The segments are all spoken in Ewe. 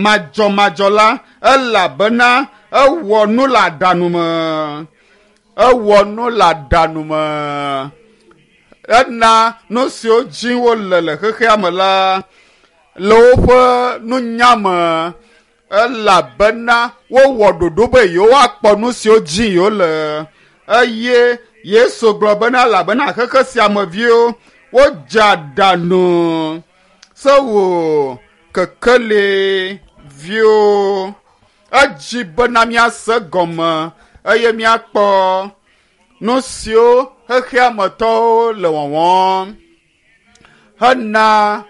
Madzɔmadzɔ la, elabena ewɔ nu le aɖanu me. Ewɔ nu le aɖanu me. Ena nu siwo dzi wole le xexea me la le woƒe nunya me elabena wowɔ ɖoɖo be yewoakpɔ nu siwo dzi yewole eye Yesu gblɔ bena elabena xexe sia me viwo wodze aɖaŋu se wò kekeli viwo. Edzi bena míase gɔme eye míakpɔ nu siwo xexea me tɔwo le wɔwɔm hena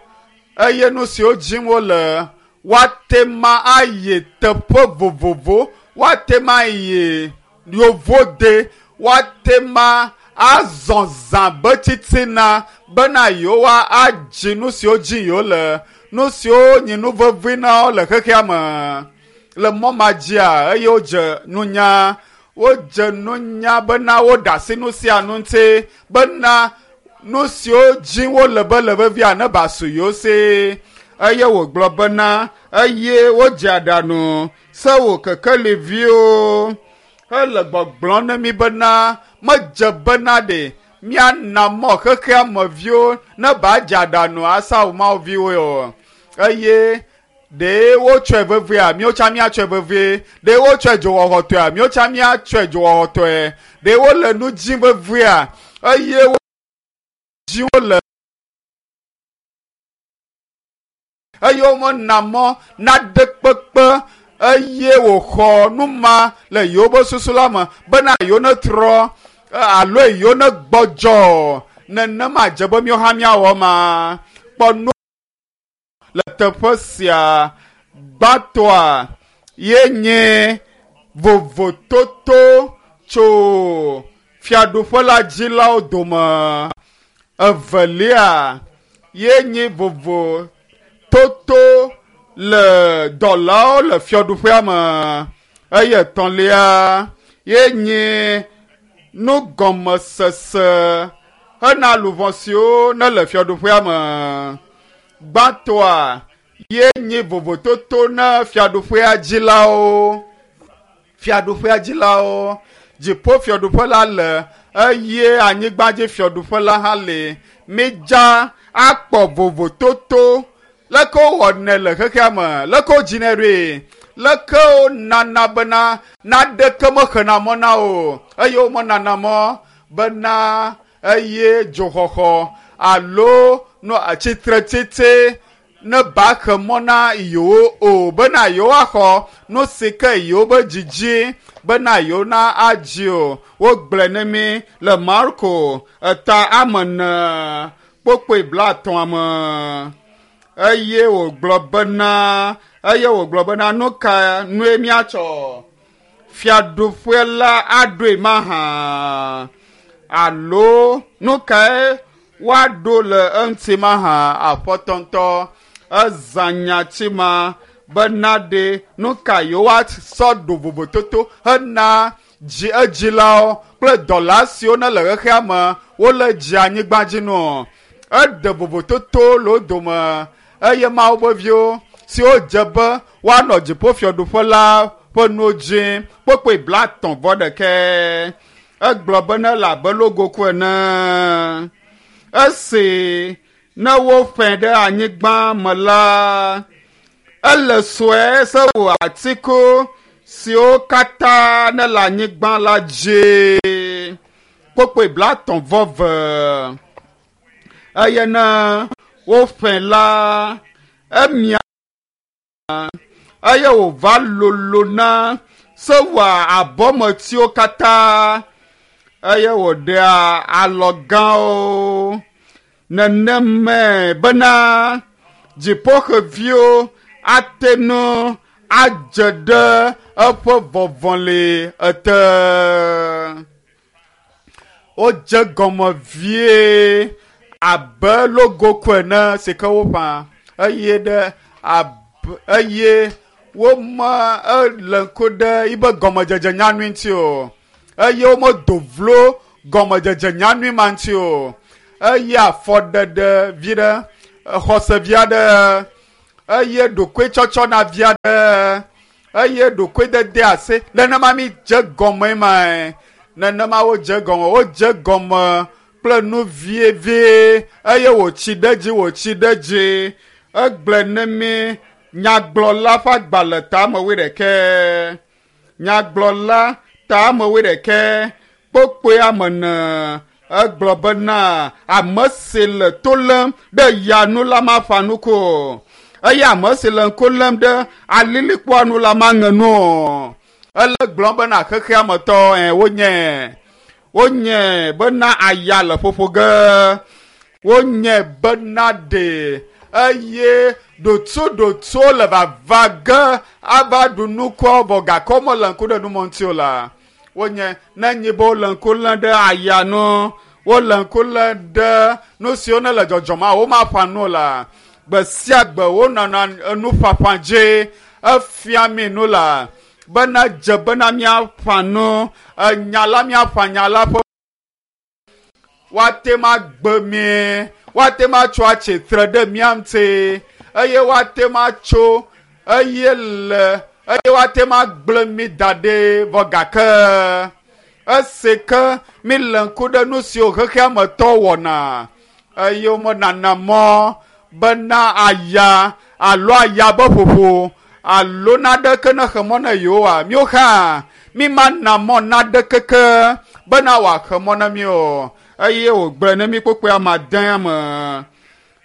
eye nu siwo dzim wole woate ma ayi teƒe vovovo, woate ma ayi yovode, woate ma azɔ zã be titina bena yewoa adzi nu siwo dzi yewole, nu siwo nyi nu vevi na wo le xexea me. Le mɔ ma dzia eye wodze nunya, wodze nunya bena woɖe asi nu sia nu ŋuti bena nu siwo dzi wole be le vevia ne ba su yewo si. Eye wògblɔ bena eye wodze aɖaŋu se wò kekeliviwo hele gbɔgblɔm ne mi bena medze bena ɖe míana mɔ xexea me viwo ne ba dze aɖaŋu asa wo Mawu viwo o. Eye ɖe wotsɔe vevia, míwo tsã míatsɔe vevie. Ɖe wotsɔe dzowɔxɔtɔea, míwo tsã míatsɔe dzowɔxɔtɔe. Ɖe wole nu dzim vevia eye wo dzi wole eye womena mɔ naɖe kpekpe eye wòxɔ nu ma le yewoƒe susu la me bena yewo netrɔ alo yewo negbɔdzɔ nenema dze be míawo hã míawɔ ma kpɔ nu le teƒe sia gbãtɔa ye nye vovototo tso fiaɖuƒe la dzilawo dome evelia ye nye vovototo le dɔlawo le fiaɖuƒea me eye etɔ̃lia ye nye nugɔmesese hena luʋɔ siwo nele fiaɖuƒea me. Gbãtɔa ye nye vovototo na fiaɖuƒea dzilawo. Fiaɖuƒea dzilawo. Dziƒo fiaɖuƒe la le eye anyigbadzi fiaɖuƒe la hã le. Midza akpɔ vovototo leke wowɔnɛ le xexea me, leke wodzinɛ ɖoe, leke wonana bena naɖeke mexena mɔ na o eye womenana mɔ bena eye dzoxɔxɔ alo no tsitretsitsi ne ba xe mɔ na yewo o bena yewoaxɔ nu si ke yewobe dzidzi bena yewo na adzi o. Wogblɔe ne mí le Marko eta ame ene kpokpoe blaetɔ̃a me eye wògblɔ bena eye wògblɔ bena nu ka nue míatsɔ fiaɖuƒe la aɖoe mahã alo nu kae woaɖo le eŋuti mahã aƒetɔ ŋutɔ ezã nyati ma bena ɖe nu ka yewoasɔ ɖo vovototo hena dzi edzilawo kple dɔla siwo ne le xexea me wole dzi anyigba dzi nɔ. Eɖe vovototo le wo dome eye Mawu ƒe viwo siwo dze be woanɔ dziƒofiaɖuƒe la ƒe nuwo dzi kpokpoe blaetɔ̃ vɔ ɖekɛ. Egblɔ be ne le abe logoku ene. Esi ne wofẽ ɖe anyigba me la, ele sue se wò atiku siwo katã ne le anyigba la dzi. Kpokpoe blaetɔ̃ vɔ ve. Eye ne wofẽ la, emia eye wòva lolona se wòa abɔmetiwo katã eye wòɖea alɔ gãwo. Nenemae bena dziƒoxeviwo ate ŋu adze ɖe eƒe vɔvɔli ete. Wodze gɔme vie abe logoku ene si ke woƒã eye ɖe abe eye wome ele ŋku ɖe yibe gɔmedzedze nyanui ŋuti o eye womedo vlo gɔmedzedze nyanui ma ŋuti o eye afɔɖeɖe vi ɖe xɔse vi aɖe Eye ɖokuitsɔtsɔ na via ɖe eye ɖokuidede ase nenema mi dze gɔme mae nenema wodze gɔme wodze gɔme kple nu vievie eye wòtsi ɖe dzi wòtsi ɖe dzi egblẽ ne mi nyagblɔla ƒe agbalẽ tame wuiɖekɛ nyagblɔla tame wuiɖekɛ kpokpoe ame ene egblɔ bena ame si le to lém ɖe ya nu la maƒa nuku o eye ame si le ŋku lém ɖe alilikpoa nu la maŋe nu o ele gblɔm bena xexea me tɔ ɛ wonye wonye bena aya le ƒoƒo ge wonye bena ɖe eye ɖotuɖotuwo le vava ge ava ɖu nukuawo vɔ gake womele ŋku ɖe numɔ ŋuti o la wonye ne nyi be wole ŋku lém ɖe aya nu wole ŋku lém ɖe nu siwo ne le dzɔdzɔm a womaƒã nu o la gbe sia gbe wonɔna enuƒaƒã dzi efia mi nu la bena dze bena míaƒã nu enya la míaƒã nya la ƒe woate ma gbe mi woate ma tso atsitre ɖe mía ŋuti eye woate ma tso eye le eye woate ma gblẽ mi da ɖi vɔ gake esi ke mi le ŋku ɖe nu siwo xexea me tɔ wɔna eye womenana mɔ bena aya alo aya be ƒoƒo alo naɖeke ne xe mɔ na yewoa míwo hã mi mana mɔ naɖeke ke bena wòaxe mɔ na mi o eye wògblẽ ne mi kpokpoe ame ade me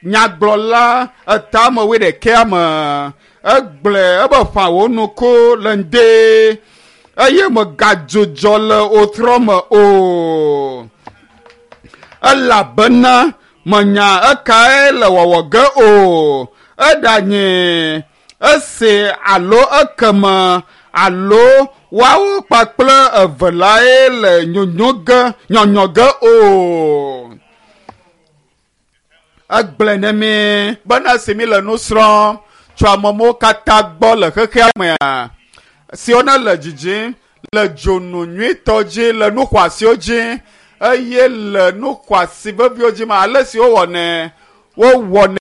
nyagblɔla etame wuiɖekɛa me egblẽ ebe ƒã wò nuku le ŋde eye megadzudzɔ le wotrɔ me o elabena menya ekae le wɔwɔ ge o eɖanye ese alo ekeme alo woawo kpakple eve lae le nyonyo ge nyɔnyɔ ge o egblẽ ne mi bena esi mi le nu srɔ̃m tso amewo katã gbɔ le xexea mea siwo ne le dzidzim le dzonu nyuitɔ dzi le nu xɔasiwo dzi eye le nu xɔasi veviwo dzi ma ale si wowɔnɛ wowɔnɛ.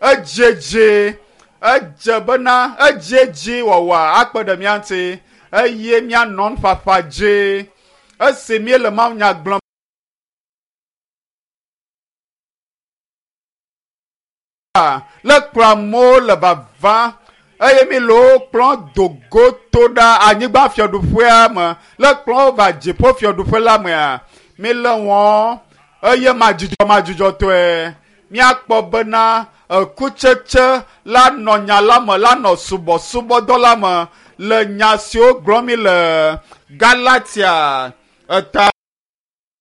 Edzedze edze bena edzedze wɔwɔ akpe ɖe mía ŋuti eye míanɔ nuƒaƒã dzi esi míele mawunya gblɔm. Le kplɔ amewo le vava eye mi le wo kplɔ dogo to ɖa anyigba fiaɖuƒea me le kplɔ wo va dziƒo fiaɖuƒe la mea mi le wɔm eye madzudzɔ madzudzɔtɔe míakpɔ bena ekutsetse la nɔ nya la me la nɔ subɔsubɔdɔ la me le nya siwo gblɔm mi le Galatia eta.